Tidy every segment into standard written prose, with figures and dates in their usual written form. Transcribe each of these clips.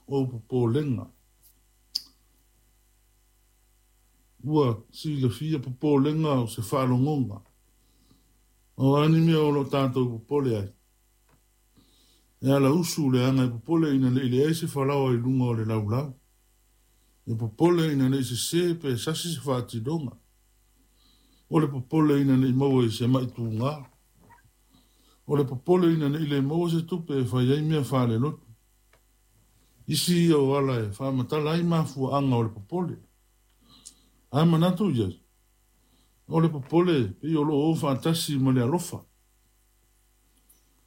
ou popolega. Ua silafia popolega o se faalogoga. O a ni mea o lo o tatou popole ai? E ala usu leaga e popole ina ne i leai se falaoa i luga o le laulau. E popole ina ne i sesē pe sasi se faatinoga. O le popole ina ne i maua i se ma'i tuga. O le popole ina ne i le maua se tupe e fai ai mea faalelotu. Isi ia o ala e faamatala ai mafuaaga o le popole. A manatu i ai, o le popole pei o lo o o faatasi ma le alofa.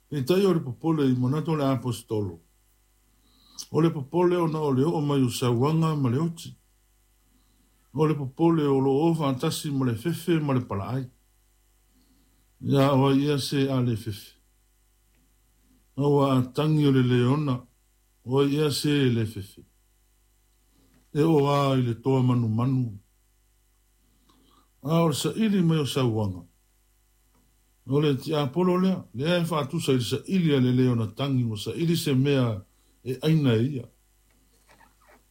Peitai o le popole i manatu o le Aposetolo, o le popole ona o le oo mai o sauaga ma le oti. O le popole o lo o faatasi ma le fefe ma le palaai. Ia o ai ea se a le fefe? Aua a tagi o le leona, o ai ea se e le fefe? E oo lava i le toa manumanu. A o le saili mai o sauaga, o le tiapolo lea, lea e faatusa i le saili a le leona tagi ua saili se mea e aina e ia.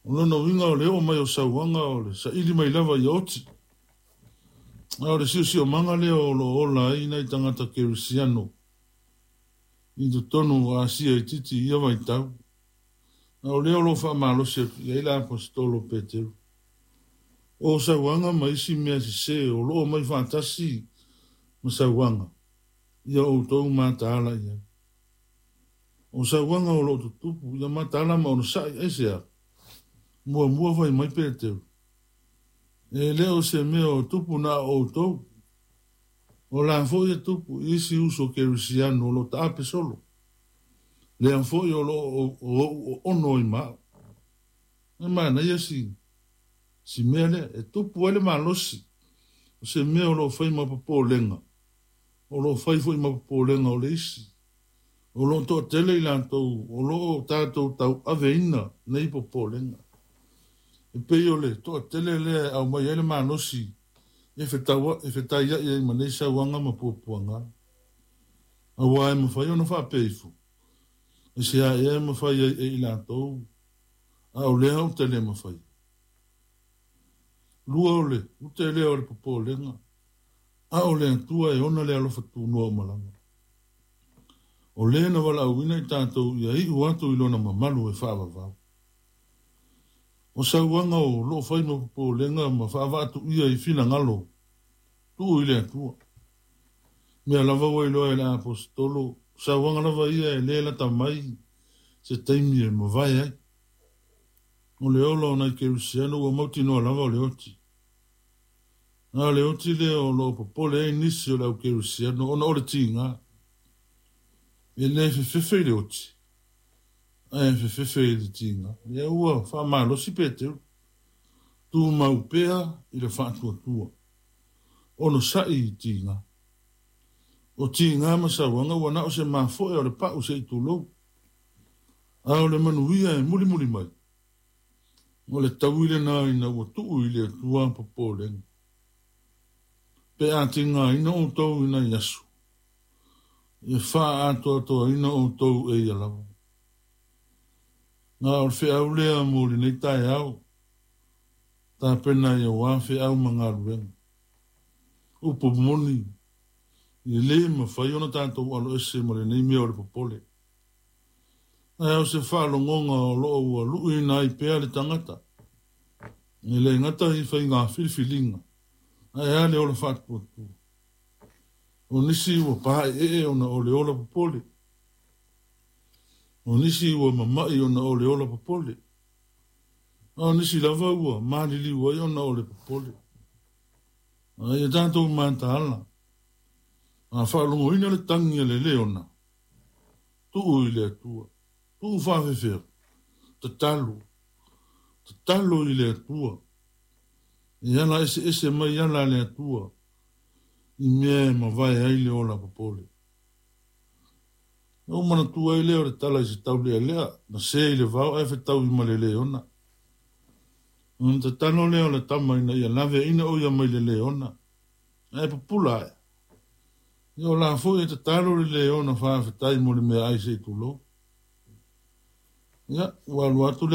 O lona uiga o le oo mai o sauaga o le saili mai lava ia oti. A o le siosiomaga lea o lo o ola ai nai tagata kerisiano i totonu o Asia itiiti i ia vaitau. A o lea o lo o faamalosi atu i ai le Aposetolo Peteru. O sauaga ma isi mea sesē o lo o omai faatasi ma sauaga, ia outou mataala i ai. O sauaga o lo o tutupu, ia mataala ma onosai, aisea? Muamua fai mai Peteru, E le o se mea o tupu na o outou. O la foi e tupu i isi uso kerisiano o lo o taape solo. Lea foi o lo o ou oono ai ma au. E manaia si si mea lea, e tupu ai le malosi o se mea o lo o fai ma popolega, o lo o fai foi ma popolega o le isi. O lo o toatele i latou o lo o tatou tauaveina nei popolega. E pei o le toatele lea e aumai ai le malosi e fetaiai ai ma nei sauaga ma puapuaga. Aua e mafai ona faapea ifo, Aisea ea e mafai ai e i latou, a o lea ou te le mafaia? Lua o le ute lea o le popolega, a o le Atua e ona le alofa tunoa uma lava. O le na valaauina i tatou ia iu atu i lona mamalu e faavavau. O sauaga o lo o fai ma popolega ma faavaatuia i finagalo tuu i le Atua. Mea lava ua iloa e le Aposetolo, o sauaga lava ia e le lata mai se taimi e mavae ai. O le ola o nai Kerisiano ua mautinoa lava o le oti. A o le oti lea o lo o popole ai nisi o le au Kerisiano ona o le tiga. E le fefefe i le oti, ae fefefe i le tiga. Lea ua faamalosi Peteru, tumau pea i le faatuatua, onosai i tiga. O tiga ma sauaga ua na o se mafoe o le pau se i tulou. A o le manuia e mulimuli mai, o le taui lena ina ua tuu i le Atua popolega. Pe a tigaina outou i nai aso, e faaatoatoaina outou e ia lava. A o le feau lea mo lenei taeao, tapena i auā feau ma galuega. Upu moni, e le mafai ona tatou aloese ma lenei mea o le popole. Ae o se faalogoga o lo o ua luʻiina ai pea le tagata, e le gata i faiga filifiliga, ae a le ola faatuatua. O nisi ua paeee ona o le ola popole. O nisi ua mama'i ona o le ola popole. A o nisi lava ua maliliu ai ona o le popole. A ia tatou mataala, a faalogoina le tagi a le leona, Tuu i le Atua. Tuu faafefea. Tatalo. Tatalo i le Atua. E ala eseese mai ala a le Atua i mea e mavae ai le ola popole. Na ou manatua ai lea o le tala i se taulealea na se i le vao ae fetaui ma le leona. Ona tatalo lea o le tama ina ia laveaina o ia mai le leona. Ae pupula ae. Ia o la foi e tatalo le leona faafetai mo le meaai se i tulou. Ia, ua alu atu le